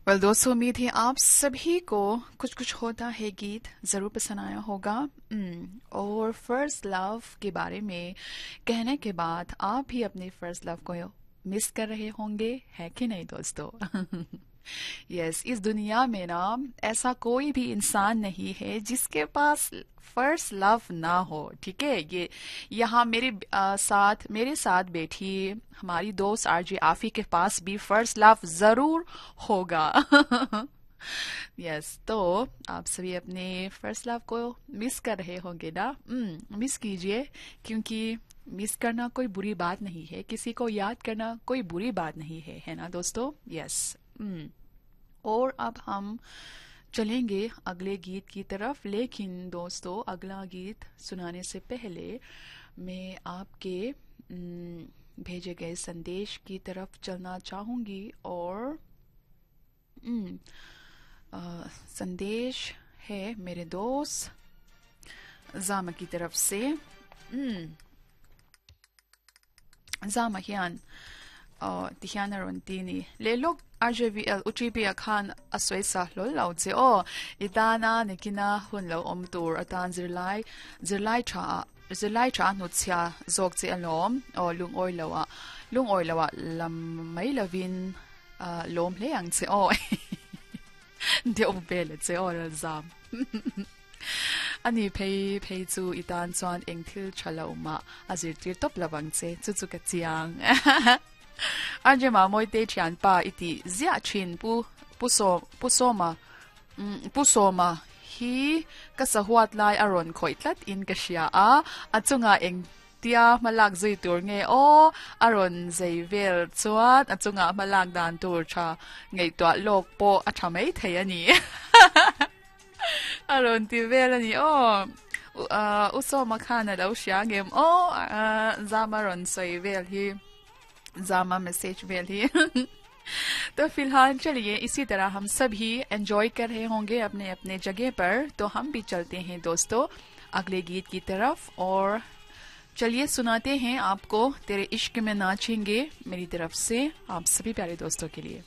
Well दोस्तों, उम्मीद है आप सभी को कुछ कुछ होता है गीत ज़रूर पसंद आया होगा। और फर्स्ट लव के बारे में कहने के बाद आप भी अपने फर्स्ट लव को मिस कर रहे होंगे, है कि नहीं दोस्तों? यस, इस दुनिया में ना ऐसा कोई भी इंसान नहीं है जिसके पास फर्स्ट लव ना हो, ठीक है। ये यहाँ मेरे साथ बैठी हमारी दोस्त आरजे आफी के पास भी फर्स्ट लव जरूर होगा। यस, तो आप सभी अपने फर्स्ट लव को मिस कर रहे होंगे ना? मिस कीजिए, क्योंकि मिस करना कोई बुरी बात नहीं है, किसी को याद करना कोई बुरी बात नहीं है, है ना दोस्तों? यस। और अब हम चलेंगे अगले गीत की तरफ, लेकिन दोस्तों अगला गीत सुनाने से पहले मैं आपके भेजे गए संदेश की तरफ चलना चाहूँगी। और संदेश है मेरे दोस्त जामा की तरफ से। जामा हियान tihian a rawn ti ni le lawk RJVL UTP a khan a sawi sa hlawl lo che aw i tana nikina hun lo awm tur atan zirlai zirlai tha ah zirlai tha a hnut chhia zawk che alawm aw lungawi lo ah lungawi lo ah lam mai lovin lawm hle ang che aw deuh vel a che aw ral zam ani phei phei chu i tan chuan eng thil tha lo mah a zirtir tawp lo ang che chu chu ka chiang RJ Mamawite thianpa i tih ziah thin pu pu sawm pu sawma pu sawma hi ka sahuat lai a rawn khawih tlat in ka hria a a chungah eng Tia hmalak zui tur nge aw a rawn zei vel chuan a chungah hmalak dan tur tha ngaihtuah lawk pawh a tha mai thei a ni. A rawn ti vel a ni aw. U Sawma khan a lo hria ngem aw Zama rawn sawi vel hi Zama message vel hi. तो फिलहाल चलिए इसी तरह हम सभी एंजॉय कर रहे होंगे अपने अपने जगह पर, तो हम भी चलते हैं दोस्तों अगले गीत की तरफ और चलिए सुनाते हैं आपको तेरे इश्क में नाचेंगे मेरी तरफ से आप सभी प्यारे दोस्तों के लिए।